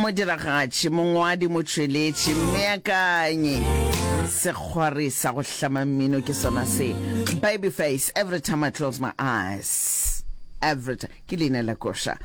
Modiragatši, mongwadi, motšweletši, mmeakanyi, sekgwari sa go hlama mmino ke sona se. Babyface, every time I close my eyes. Every time. Ke leina la koša.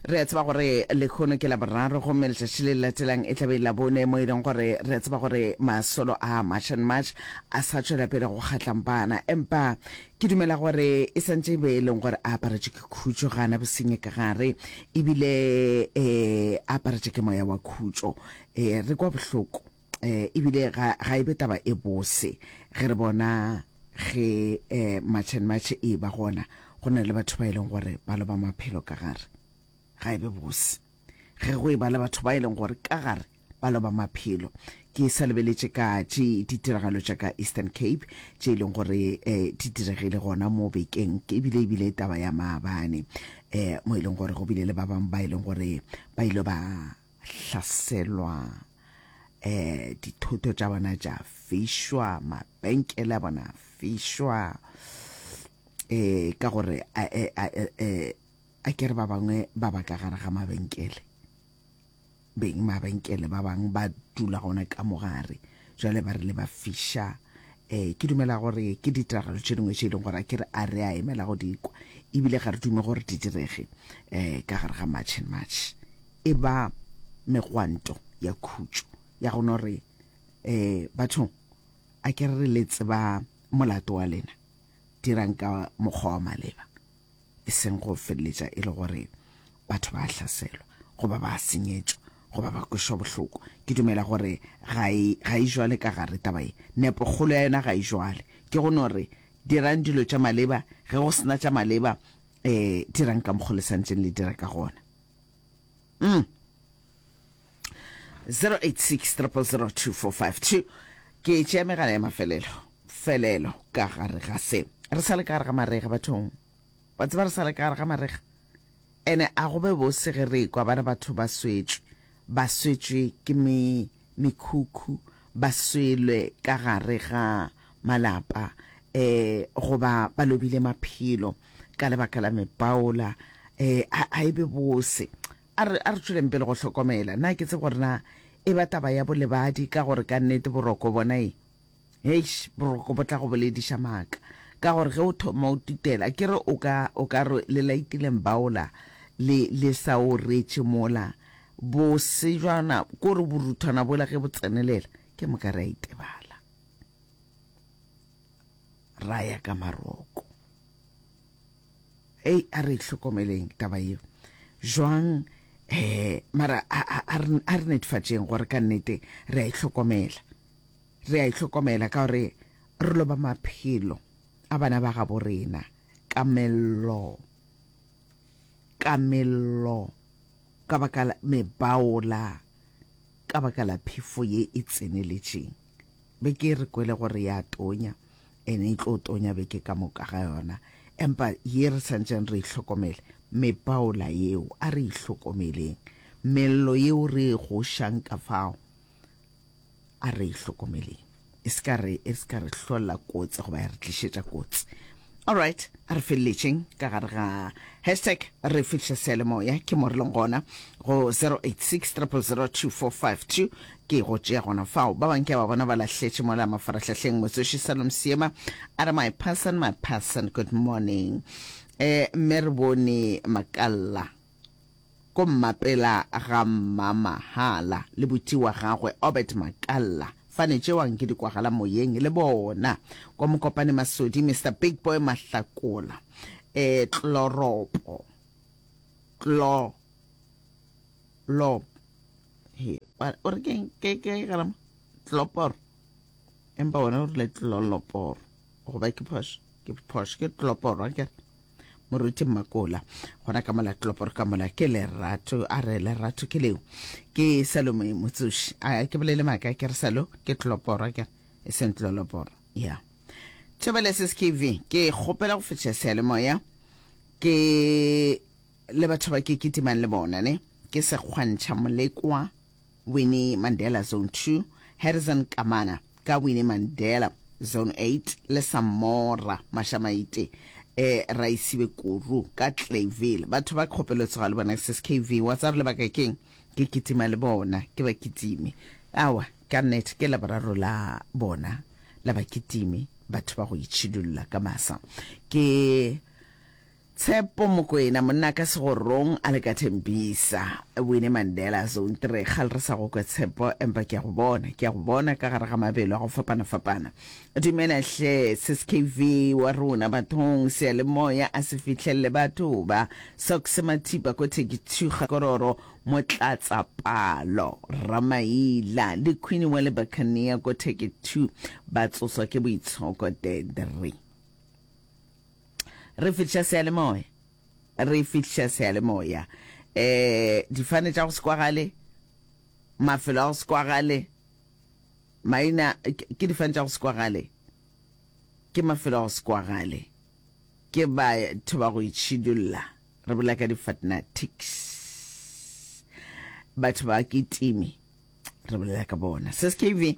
Re a tseba gore lekhono ke Laboraro gomme letšatši le le latelang e tla be e le Labone mo e leng gore re a tseba gore masolo a March and March a sa tšwela pele go kgatlampana. Empa ke dumela gore e santše e be e leng gore a aparetšwe ke khutšo, ga a na bosenyi ka gare ebile um a aparetšwe ke moya wa khutšo. Um re kwa bohloko um ebile ga, ga e be taba e bose ge re bona ge um March and March e ba gona go na le batho ba e leng gore ba loba maphelo ka gare. Ga e be bose ge go e ba le batho ba e leng gore ka gare ba loba maphelo. Ke sa lebeletše ka tše ditiragalo tša ka Eastern Cape tše e leng gore um di diregile gona mo bekeng, ebile ebile taba ya maabane um mo e leng gore go bile le ba bangwe ba e leng gore ba ile ba hlaselwa um dithoto tša bona tša fišwa, mabenkele a bona a fišwa um ka gore a ke re ba bangwe ba ba ka gare ga mabenkele beng mabenkele ba bangwe ba dula gona ka mogare jwale ba re le ba fiša um ke dumela gore ke ditiragalo tše dingwe tše e leng gore a ke re a re a emela go di kwa ebile ga re dume gore di direge um ka gare ga March and March e ba megwanto ya khutšo ya go no re um bathong a ke re le tseba molato wa lena dirang ka mokgwa wa maleba e seng go feleletša e le gore batho ba hlaselwa goba ba senyetšwa goba ba kwešwa bohloko. Ke dumela gore ga e, ga e jwale ka gare taba ye. Nepokgolo ya yona ga e jwale. Ke go no re dirang dilo tša maleba, ge go sena tša maleba, um dirang ka mokgo le santšeng le dira ka gona. Mm. 086 000 2452 ke tšea megala ya mafelelo felelo ka gare ga se re sa le ka gare ga marega bathong wa tseba re sa le ka gare ga marega ene a go be bose ge re kwa ba re batho ba swetšwe ba swetšwe ke me mekhukhu ba swelwe ka gare ga malapa um goba ba lobile maphelo ka lebaka la mepaola um a e be bose A re, a re tšweleng pele go hlokomela. Na ke tsebe gore na e ba taba ya bolebadi, ka gore ka nnete boroko bona e, heish, boroko bo tla go bolediša maaka. Ka gore ge o thoma o tutela, ke re o ka, o ka re le laitile mbaola, le, le sa o retše mola, bosejwana, ko re boruthwana bola ge bo tsenelela, ke moka re a itebala. Ra ya ka maroko. Hei, a re hlokomeleng taba yeo jwang eh mara a re netefatšeng gore ka nnete re a ihlokomela re a ihlokomela ka gore re loba maphelo a bana ba gabo rena ka mello ka mello ka baka la mebaola ka baka la phefo ye e tseneletšeng Beke re kwele gore ya tonya, ene e tlo tonya beke ka moka ga yona. Empa ye re santšeng re e hlokomele, mepaola yeo, a re e hlokomeleng. Mello yeo re e gošang ka fao, a re e hlokomeleng. E se ka re, e se ka re hlolla kotsi goba ya re tlišetša kotsi. Alright, a re feleletšeng ka gare ga hashtag re fihla seyalemoya ke mo re leng gona go 086 000 2452 ke go tšea gona fao. Ba bang ke a ba bona ba lahletše mola mafarahlahleng. Motsoši Salom Seema a re my person, my person, good morning. Eh, mme re bone Makalla ko mmapela ga Mmamahala le buti wa gagwe Obert Makalla. Fane tšeo anke di kwagala moyeng le bona. Kwa Mokopane Masodi, Mister Big Boy Mahlakola, eh, Tloropo, Tlo, lo, he, o re keng, ke, ke, garama, Tloporo, empa wena o rile Tloloporo, goba ke phošo, ke phošo, ke Tloporo, akere? Moruti Mmakola gona ka mola Tloporo ka mola ke lerato a re lerato ke leo ke Salome Motsoši a ke bolele maaka ke re Salo ke Tloporo ke e seng Tloloporo ya Thobela SSKV ke kgopela go fetša seyalemoya ke le batho ba ke kitimang le bona ne ke Sekgwantšha Molekwa Winnie Mandela Zone 2, Harrison Kamana ka Winnie Mandela Zone 8 le Samora Mashamaite. Eh, Raisibe Kuru ka Clayville. Batho ba kgopelo tsoga le bona sis KV. Wa tseba lebaka keng? Ke kitima le bona, ke ba kitime. Awa, ka nnete ke laboraro la bona la ba kitime, batho ba go itšhidulla ka masa. Ke Tshepo Mokoena, monna ka segorong a le ka Thembisa, Winnie Mandela Zone 3. Kgale re sa go kwe Tshepo, empa ke a go bona, ke a go bona ka gare ga mabelo a go fapana-fapana. Dumela hle sis KV wa rona bathong seyalemoya a se fihlelle batho ba Socks Mathipa ko Thekithu Kgakororo Motlatsa Palo Ramaila le Queen wa le Buccaneer ko Thekithu ba tsoswa ke boitshoko Dedri re fihliša seyalemoya re fihliša seyalemoya eh difane tša go se kwagale mafelo a go se kwagale Maina ke difane tša go se kwagale, ke mafelo a go se kwagale, ke batho ba go itšhidulla. Re bolela ka di-fatnatics, batho ba kitimi, re bolela ka bona. Sis KV,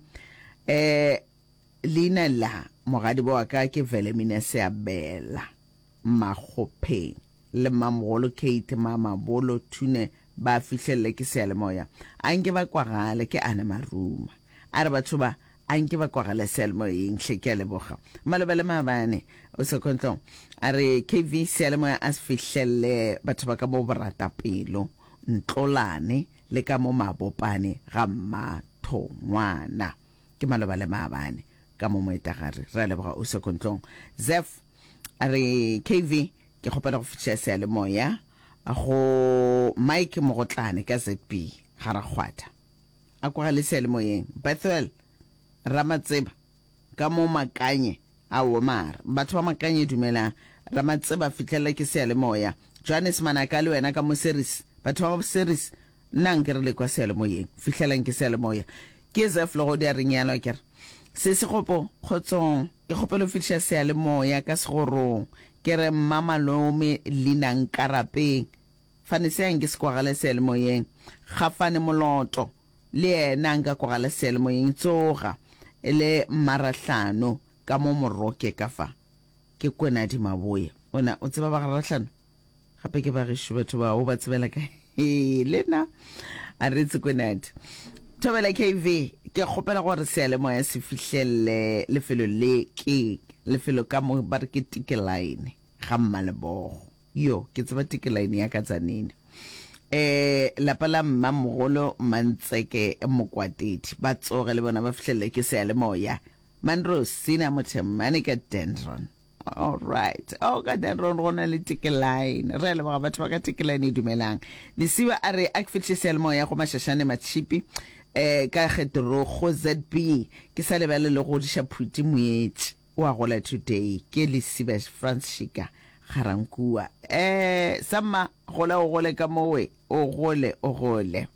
eh, leina la mogadibo wa ka ke Velemina Seabela Makgopheng. Le Mmamogolo Kate, Mamabolo, Thune ba fihlelele ke seyalemoya. A nke ba kwagale, ke Anna Maruma. A re batho ba, a nke ba kwagale seyalemoyeng hle, ke a leboga. Maloba le maabane, o Sekhontlong. A re KV seyalemoya a se fihlelele batho ba ka mo Boratapelo, Ntlolane le ka mo Mabopane ga Mmathongwana. Ke maloba le maabane ka mo Moetagare. Re a leboga o Sekhontlong. Zeph a re KV Ke kgopela go fihliša seyalemoya go Mike Mogotlane ka ZB ga Rakgwatha. A kwagale seyalemoyeng. Bethuel Ramatseba ka mo Makanye. Aowa mara batho ba Makanye dumelang. Ramatseba fihlelela ke seyalemoya. Johannes Manaka le wena ka mo Ceres. Batho ba Ceres Nna nke re le kwa seyalemoyeng. Fihlelang ke seyalemoya. Ke Zeph Legodi a re nyalo akere. Sesi Kgopo, kgotsong. Ke kgopela go fihliša seyalemoya ka segorong. Ke re mma malome leina Nkarapeng. Fane se anke se kwagale seyalemoyeng. Gafane Moloto le yena anka kwagala seyalemoyeng. Tsoga le Mmarahlano ka mo Moroke ka fa. Ke Kwenadi Maboya. Wena o tseba ba ga Rahlano? Gape ke ba gešo batho ba o ba tsebela kae? Hee, le nna a re tsekwenadi. Thobela KV, ke kgopela gore seyalemoya se fihlelle lefelo le ke lefelo ka mo ba re ke Tikelaene ga Mmalebogo. Yo, ke tseba Tikelaene ya ka Tzaneen. Eh, lapa la mmamogolo Mmantseke Mokwatedi ba tsoge le bona ba fihlelle ke seyalemoya. Manrose Sina Mothemane ka Dendron. All right. Oh, ka Dendron go na le Tikiline. Re a leboga batho ba ka Tikiline dumelang. Lesiba a re a ke fihle seyalemoya go Mashashane Matšhipi eh ka Getorogo ZB. Ke sa lebale le go godiša Phuti Moetši. O a gola today. Ke Lesiba Frans Shika Garankua. Eh samma gola o gole ka mowe. O gole o gole.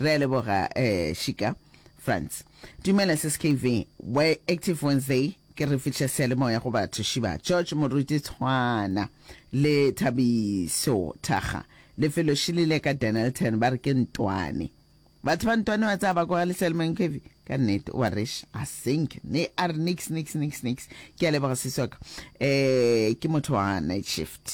Re a leboga eh Shika Frans. Dumela sis KV. We Active Wednesday ke re fihla seyalemoya go batho Shiba George Moruti Tshwana le Thabiso Thaga lefelo šilile ka Dennilton ba re ke Ntwane. Batho ba Ntwane wa tsaya ba kwa le seyalemoyeng KV ka nnete wa reš a sink ne a re nix nix nix nix ke a leboga sisi wa ka eh ke motho wa night shift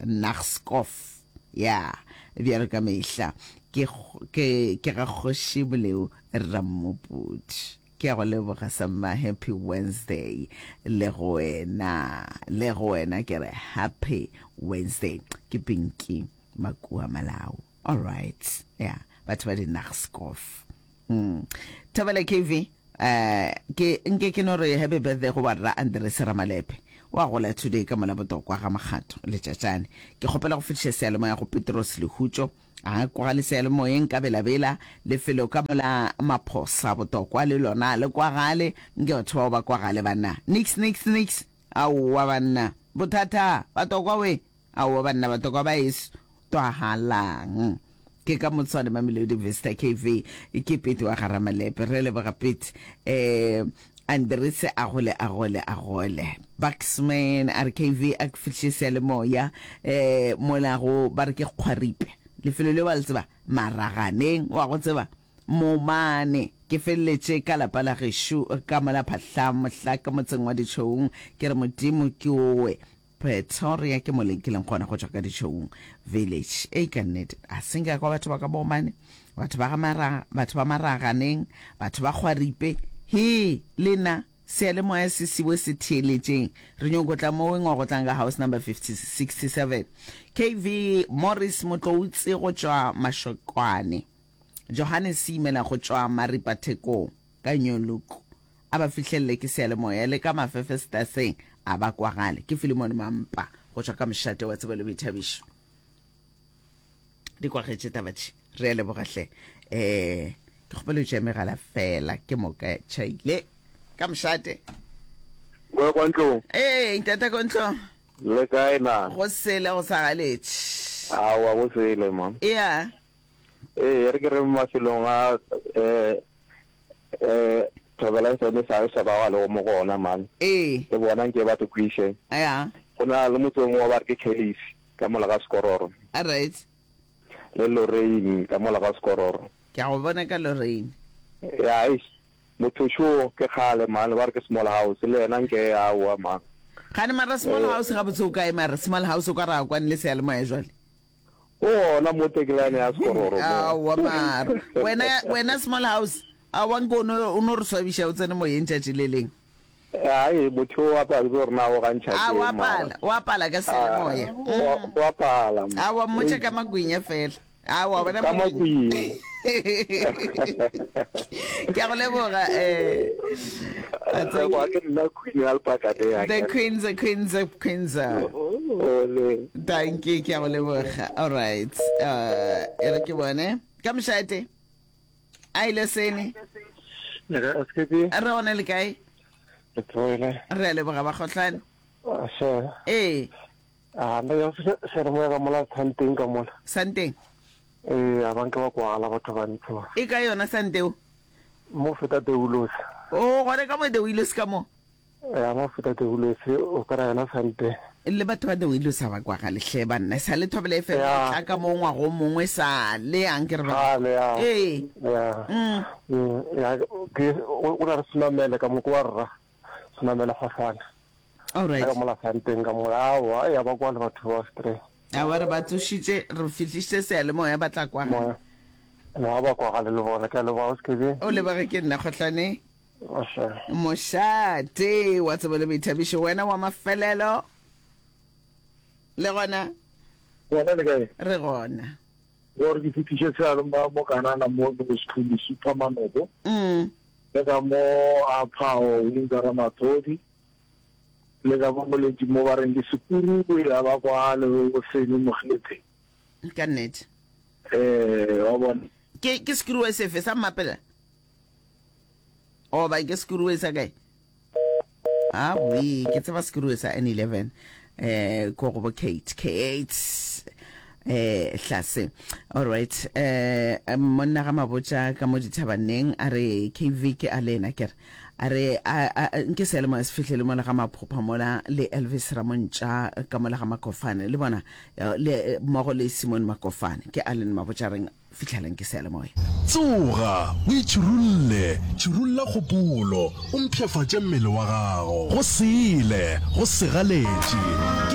Nachtskof ya bjalo ka mehla ke ke ke ga kgoši Boleu Rammopudi. Ke a go leboga Samma, happy Wednesday le go wena, le go wena ke re happy Wednesday. Ke Pinky Makua Malau. All right, yeah, batho ba di Nachtskof. Mm. Thobela KV, eh ke nke ke no re happy birthday go barra Andres Ramalepe. Wa gola today ka mola botokwa ga Makgato letšatšane. Ke kgopela go fetiša seyalemoya go Petros Lehutšo A kwagale seyalemoyeng ka belabela, lefelo ka mola Maphosa botokwa le lona le kwagale, nke batho bao ba kwagale banna. Nix nix nix, aowa banna. Bothata, batokwa we, aowa banna batokwa ba eso twagalang. Ke ka Motshwane Mamelodi Vista KV, ke Pete wa ga Ramalepe. Re leboga Pete. Eh, Andrese a gole a gole a gole. Bucksman a re KV a ke fihle seyalemoya eh mola go ba re ke Kgwaripe. Lefelo leo wa le tseba? Maraganeng wa go tseba? Momane ke feleletše ka lapa la gešo ka mola Phahla mohla ka motseng wa Ditšhoung ke re Modimo ke owe. Pretoria ke mo ke leng gona go tšwa ka Ditšhoung Village. Ei ka nnete, a se nka kwa batho ba ka bomane, batho ba ga mara, batho ba maraganeng, batho ba kgwaripe. He, lena seyalemoya se siwe se theeletšeng. Re nyoko tla mo weng wa go tlang ka house number 50, 67. KV Morris Motloutse go tšwa Mashokwane. Johannes Seimela go tšwa Maripa Thekong ka New Look. A ba fihlelele ke seyalemoya le ka mafefestaseng a ba kwagale. Ke Filimone Mampa go tšwa ka mošate wa tsebo le boithabišo. Di kwagetše taba tše. Re a leboga hle. Eh, ke kgopela o tšea megala fela ke moka tšhaile ka mošate. Kwa kwa ntlong. Ee, ntata ko ntlong. Le kae na? Go sele go sa galetše. Aowa go sele ma. Ea. Ee, re ke re mafelong a eh eh Thobela FM sa sa ba le mo go ona man. Ee. Le bona nke ba te kwiše. Ya. Go na le motse o mongwe ba re ke Kelly's ka mola ga Sekororo. All right. Le Lorraine ka mola ga Sekororo. Ke a go bona ka Lorraine. Ya, eish. Motho šo ke kgale man, ba re ke small house le yena nke aowa man. Gane mara small house gabotse o kae mara small house o ka re a kwane le seyalemoya jwale. O gona mo tekelane ya sekororo mo. Aowa mara wena wena small house aowa nke o no o no re swabiša o tsene moyeng tšatši le leng. Ai motho o apa ke gore na o gantšha A wa pala wa pala ka seyalemoya. Wa pala. Aowa mmotše ka magwinya fela. A wa bona Ka makwing. Ke a go leboga eh. Wa ke nna queen ya lepakate The queen, the queen, the queen. Ole. Thank you, ke a go leboga. All right. Uh, e re ke bone. Ka mošate. A ile sene. Re gone le kae? Re tsoile. Re a leboga ba kgohlane. Ee. A nna ya se se re moya ka mola santeng ka mola. Santeng? Ee, a banke ba kwala batho ba ntsho ba. E ka yona santeo? Mo feta Deulos. O gone ka mo Deulos ka mo? Ya mo feta Deulos o kry yona santeng. Le batho ba Deulos a ba kwagale hle banna. Sa le Thobela FM Ya. tla ka mo ngwago o mongwe sa le yang ke re ba. Kgale ya. Ee. Ya. Mm. Mm, ya ke o o na re senamele ka mo ko wa rra. Senamele kgohlwana. All right. Ka mola santeng ka mola aowa ya ba kwa le batho ba stress. Aowa re ba tsošitše re fihlišitše seyalemoya ba tla kwa. Moya. No ba kwa gale le bona ke a leboga o se ke O leboge ke nna Kgohlane. Moše. Mošate wa tsebo le boithabišo wena wa mafelelo le gona. Gona le kae? Re gona. Gore ke fihliše seyalemoya mo Kanana mo ke go Sekhuni Super Manobo. Mm. Le ka mo a Phao Windsor Ramathodi. Le ka mo moletši mo ba reng ke Sekuru ya ba kwa le bo Seni Mokgethe. Ka nnete. Eh, wa bona. Ke ke sekuruwe sefe sa Mmapela? Goba ke sekuruwe sa kae? Awi, ke tseba sekuruwe sa N11 eh ko go bo Kate. Kate eh hlase. All right. Eh monna ga mabotša ka mo dithabaneng a re KV ke a lena ke re. A re, a, a, nke seyalemoya se fihlele mola ga Maphopha mola, le Elvis Ramontša ka mola ga Makofane, le bona, le, mmogo le Simon Makofane. Ke Allen Mabotjareng, fihlelang ke seyalemoya. Tsoga, o itšhirulle, tšhirulla kgopolo, o mpshafatše mmele wa gago. Go sele, go segaletše.